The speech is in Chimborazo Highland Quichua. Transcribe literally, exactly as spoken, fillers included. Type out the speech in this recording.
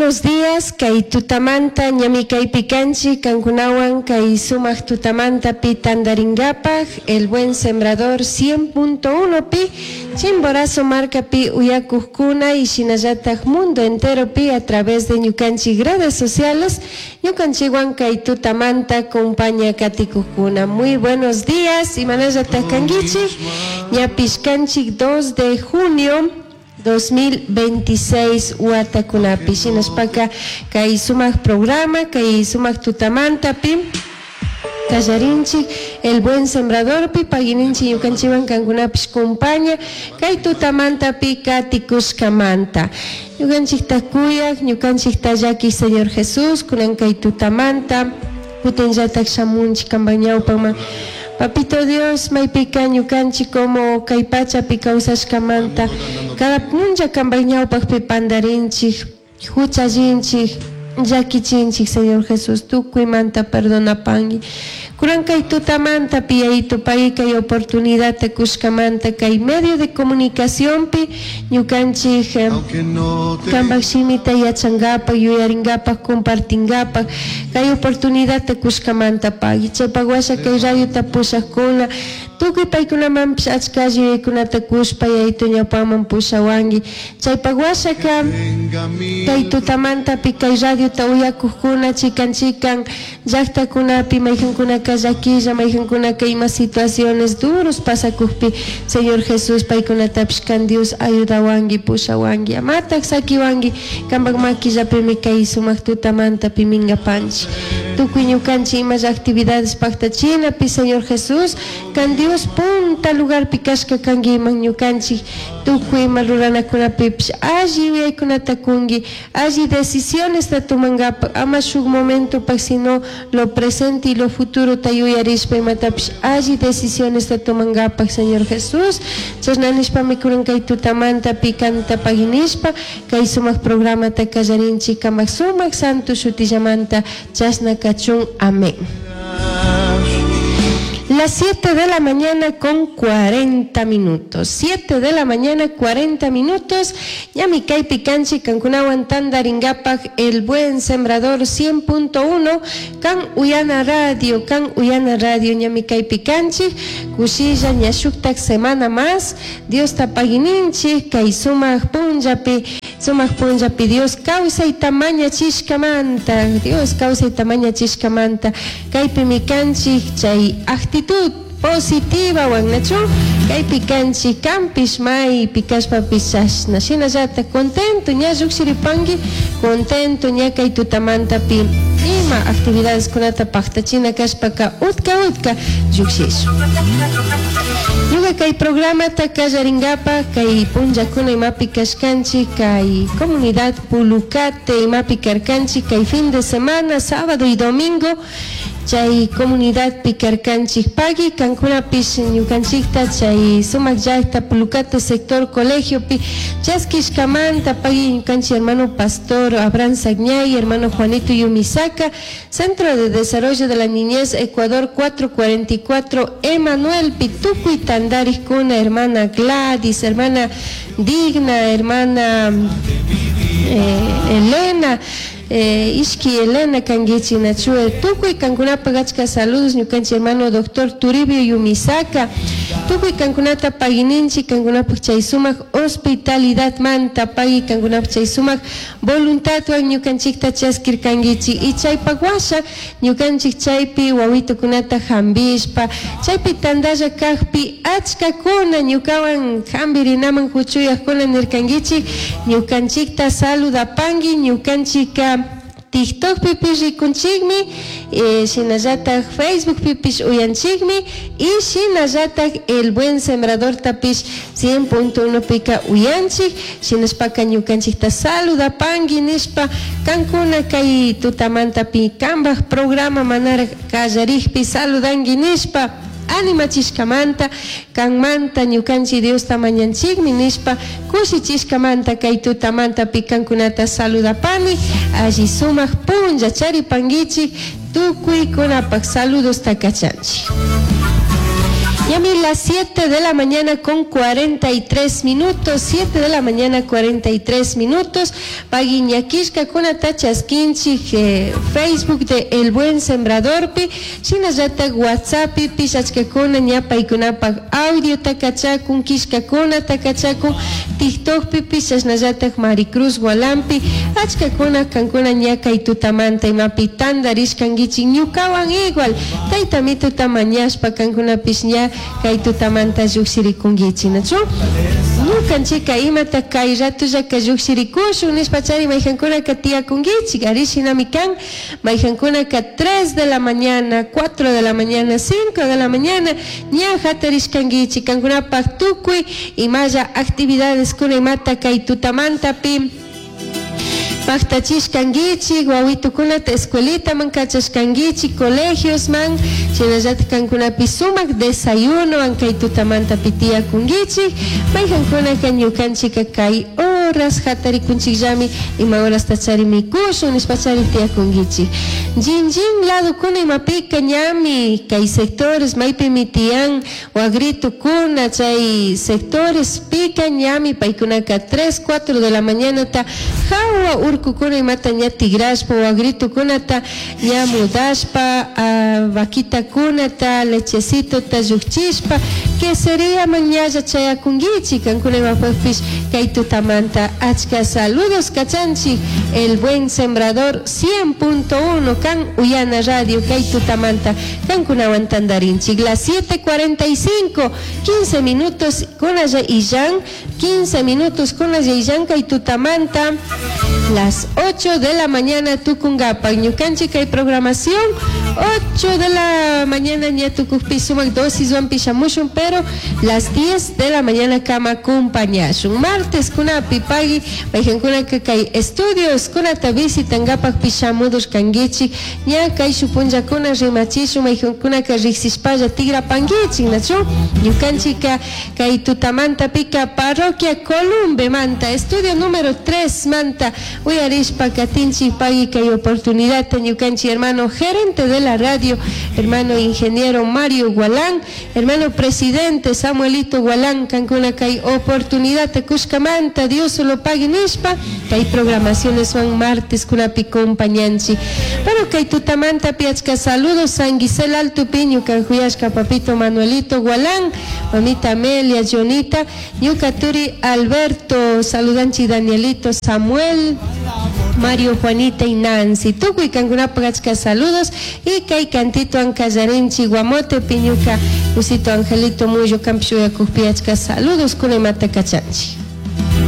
Buenos días, kay tutamanta ñami kaypi kanchik kankunawan kay sumak tutamanta pi tandaringapak El Buen Sembrador cien punto uno pi Chimborazo markapi uyakukkuna y shinallatak mundo entero pi a través de ñukanchik redes sociales ñukanchikwan kay tutamanta compaña katikukkuna. Muy buenos días, imanallatak kankichik? Ñapish kanchik dos de junio dos mil veintiséis watakunapi. Shinashpaka kay sumak programa, kay sumak tutamantapi kallarinchik El Buen Sembradorpi. Pagininchik ñukanchikwan kankunapish compaña kay tutamantapi katikushkamanta. Ñukanchikta kuyak, ñukanchikta llaki Señor Jesús, kunan kay tutamanta kutinllatak shamunchik kanpak ñawpaman. Papito Dios, maypika ñukanchik como kay pachapi kawsashkamanta cada punlla kanpak ñawpakpi pandarinchik, huchallinchik, llakichinchik. Señor Jesús, tukuymanta perdonapangui. Kunan kay tutamanta piyayito pay kay oportunidad kushkamanta kay medio de comunicaciónpi ñukanchik eh, kanpak shimita yachankapak, yuyarinkapak, compartinkapak kay oportunidad kushkamanta pagui. Chaypak washa kay radiota pushakuna tukuy paykunamanpish achka alli yuyaykunata kushpa, yayito, ñawpaman pushawanki. Chaypak washaka kay tutamantapi kay radiota uyakukkuna chikan chikan llaktakunapi maykankunaka llakilla, maykankunaka ima situaciones duros pasakukpi, Señor Jesús, paykunatapish kan Dios ayudawanki, pushawanki, amatak sakiwanki. Kanpak makillapimi kay sumak tutamantapi minkapanchik. Tukuy ñukanchik imalla actividades paktachinapi, Señor Jesús, kan Dios punta lugarpi kashka kankiman. Ñukanchik tukuy ima ruranakunapipish alli yuyaykunata kunki, alli decisiones tumankapak, ama shuk momentopak, sino lo presente y lo futuro ta yuyarishpa imatapish alli decisiones tumankapak, Señor Jesús. Chashna nishpami kunan kay tutamantapi kanta paginishpa kay sumak programata kallarinchik. Kamak sumak santo shutillamanta chashna kachun. Amén. Las siete de la mañana con cuarenta minutos. siete de la mañana cuarenta minutos. Ñami kaypi kanchik kankunawan tandaringapak El Buen Sembrador cien punto uno. Kan Uyana Radio, Kan Uyana Radio ñami kaypi kanchik. Kushilla ña shuktak semana más. Dios tapagininchik kay sumak punllapi. Sumak punllapi Dios kawsayta mañachishkamanta. Dios kawsayta mañachishkamanta. Kaypimi kanchik chay actitud positiva wanachu kaypi kanchik. Kampish maypi kashpapish chashna shinallata contento ña llukshiripanki, contento ña kay tutamantapi ima actividades kunata paktachina kashpaka utka utka llukshishun. Ñuka kay programata kallarinkapak kay punllakuna imapi kashkanchik kay comunidad Pulucate imapi karkanchik kay fin de semana, sábado y domingo chay comunidad karkanchik. Pagui kankunapish ñukanchikta chay sumak llakta Pulucate sector colegiopi chaskishkamanta. Pagui ñukanchik hermano pastor Abraham Sagñay, hermano Juanito Yumisaka, Centro de Desarrollo de la Niñez Ecuador cuatrocientos cuarenta y cuatro Emanuel tukuy tandarikkuna, hermana Gladys, hermana Digna, hermana eh, Elena, eh, ishki Elena kankichik nachue. Tukuy kankunapak achka saludos. Ñukanchik hermano doctor Turibio Yumisaka, tukuy kankunata pagininchik kankunapak chay sumak hospitalidad manta. Pagui kankunapak chay sumak voluntadwan ñukanchikta chaskirkankichik y chaypak washa ñukanchik chaypi wawitukunata hambishpa chaypi tandalla kakpi achkakuna ñukawan hambirinaman huchuyakuna nirkankichik: "Ñukanchikta saludapanki, ñukanchika TikTokpipish rikunchikmi, eh, shinallatak Facebookpipish uyanchikmi y shinallatak El Buen Sembradortapish cien punto uno pika uyanchik. Shinashpaka ñukanchikta saludapanki" nishpa kankuna kay tutamantapi kanpak programa manara kallarikpi saludanki nishpa animachishkamanta kanmanta ñukanchik Diosta mañanchikmi nishpa kushichishkamanta kay tutamantapi kankunata saludapani. Alli sumak punlla charipankichik, tukuykunapak saludos takachanchik. Ñami las siete de la mañana con cuarenta y tres minutos, siete de la mañana cuarenta y tres minutos. Pagui ñakishkakunata chaskinchik, eh, Facebook de El Buen Sembradorpi, shinallatak WhatsAppi pishachkakuna ña paykunapak audio takachakun, kishkakuna takachakun, TikTokpi pishashnallatak Maricruz Gualampi, achkakuna kankuna ña kay tutamanta imapi tantarishkankichik ñukawan igual, tayta mituta mañashpa kankunapish ña kay tutamanta llukshirikunkichik, ¿nachu? Ñukanchika imata kay ratullaka llukshirikushun nishpa chari mayjankunaka tiyakunkichik, ari shinami kan, mayjankunaka tres de la mañana, cuatro de la mañana, cinco de la mañana, ña hatarishkankichik, kankunapak tukuy imalla actividades kuna imata kay tutamantapi paktachishkankichik, wawitukunata escuelitaman kachashkankichik, colegiosman, shinallatak kankunapi sumak desayunowan kay tutamantapi tiyakunkichik, mayjankunaka ñukanchika kay horas hatarikunchikllami, ima horasta chari mikushun nishpa chari tiyakunkichik. Jinjin ladokuna imapika ñami kay sectores maypimi tiyan wagritukuna chay sectores pika ñami paykunaka tres, cuatro de la mañanata hawa urkukuna imata ña tigrashpa wagritukunata ña mudashpa, ah, vaquitakunata lechecitota llukchishpa que sería mañalla chayakunkichik kankuna imapakpish kay tutamanta achka saludos kachanchik El Buen Sembrador cien punto uno kan Uyana Radio kay tutamanta kankunawan tantarinchik las siete cuarenta y cinco, quince minutos con allá Illan, quince minutos con allá Illan kay tutamanta las ocho de la mañana tucungapa ñukanchik kay programación ocho de la mañana ña tukukpi sumak dosis wan pishamushun pero las diez de la mañana kama acompañashun martes kunapi pagui mayjankunaka kay estudios kunata visitangapak pishamudur kankichik ña kay shupunllakuna rimachishun mayjankunaka riksishpalla tigrapankichik nachu ñukanchika kay tutamantapika parroquia Columbe manta estudio número tres manta uyarishpa katinchik pagui kay oportunidad ñukanchik hermano gerente de la radio hermano ingeniero Mario Gualán hermano presidente Samuelito Gualán kankuna kay oportunidad kushkamanta Dios lo pague nishpa kay programaciones son martes kunapi compañanchi pero kay tutamanta piachka saludos San Gisel Alto Piñu kanjuyashka papito Manuelito Gualán mamita Amelia Jonita ñuka turi Alberto saludanchi Danielito Samuel Mario, Juanita y Nancy. Tukuy kankunapaq achka saludos y kay cantito ankallarinchi Guamote Piñuka Usito Angelito Muyo Kampshuya Kujpi achka saludos kunimata kachanchi.